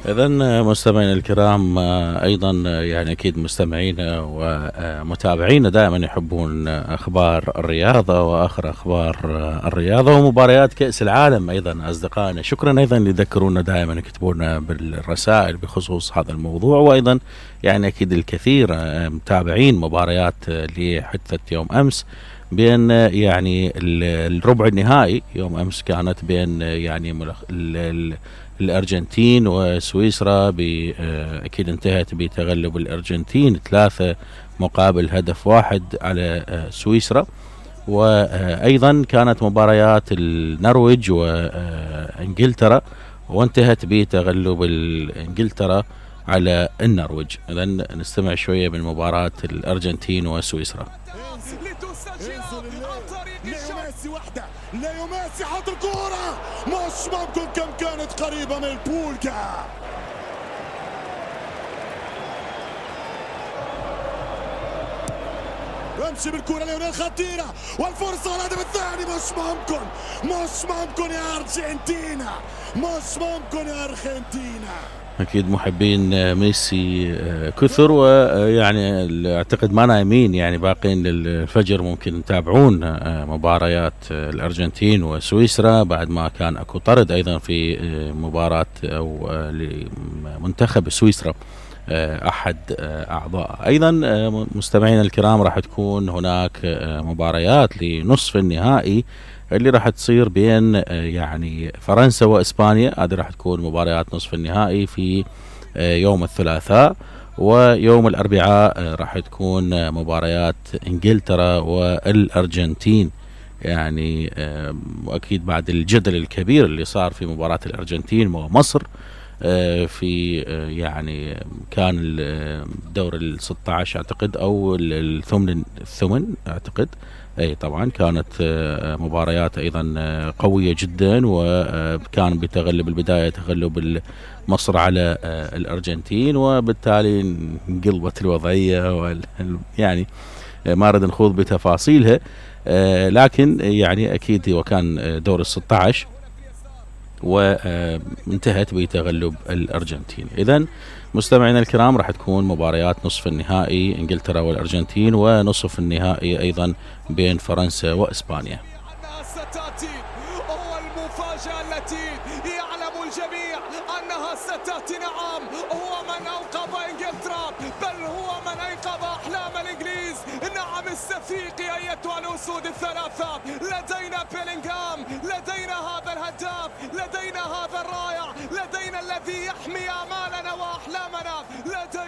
إذا مستمعينا الكرام، أيضا يعني أكيد مستمعينا ومتابعينا دائما يحبون أخبار الرياضة وآخر أخبار الرياضة ومباريات كأس العالم. أيضا أصدقائنا شكرا أيضا يذكرونا دائما يكتبونا بالرسائل بخصوص هذا الموضوع، وأيضا يعني أكيد الكثير متابعين مباريات لحدث يوم أمس بين يعني الربع النهائي. يوم أمس كانت بين يعني الأرجنتين وسويسرا، أكيد انتهت بتغلب الأرجنتين 3-1 على سويسرا. وأيضا كانت مباريات النرويج وإنجلترا وانتهت بتغلب إنجلترا على النرويج. إذن نستمع شوية من مباراة الأرجنتين وسويسرا. ليو ميسي حط الكورة، مش ممكن كم كانت قريبة من البولجا. امشي بالكورة ليونيل، خطيرة والفرصة والهدف الثاني. مش ممكن يا أرجنتينا، مش ممكن يا أرجنتينا. أكيد محبين ميسي كثر، ويعني أعتقد ما نايمين، يعني باقين للفجر ممكن يتابعون مباريات الأرجنتين وسويسرا بعد ما كان أكو طرد أيضا في مباراة أو لمنتخب سويسرا أحد أعضاء. أيضا مستمعينا الكرام راح تكون هناك مباريات لنصف النهائي اللي راح تصير بين يعني فرنسا وإسبانيا. هذه راح تكون مباريات نصف النهائي في يوم الثلاثاء، ويوم الأربعاء راح تكون مباريات إنجلترا والأرجنتين. يعني وأكيد بعد الجدل الكبير اللي صار في مباراة الأرجنتين ومصر في يعني كان الدور 16 أعتقد أو الثمن أعتقد. أي طبعا كانت مباريات أيضا قوية جدا، وكان بتغلب البداية تغلب مصر على الأرجنتين، وبالتالي انقلبت الوضعية يعني ما أريد نخوض بتفاصيلها، لكن يعني أكيد وكان دور 16 وانتهت بتغلب الأرجنتين. إذن مستمعينا الكرام راح تكون مباريات نصف النهائي إنجلترا والأرجنتين، ونصف النهائي أيضا بين فرنسا وإسبانيا. المفاجأة التي يعلم الجميع أنها ستأتي. نعم، هو من أوقظ إنجلترا، بل هو من أيقظ أحلام الإنجليز. نعم، استفيقي أيتها الأسود الثلاثة. لدينا بيلينغهام، لدينا هذا الهداف، لدينا هذا الرائع، لدينا الذي يحمي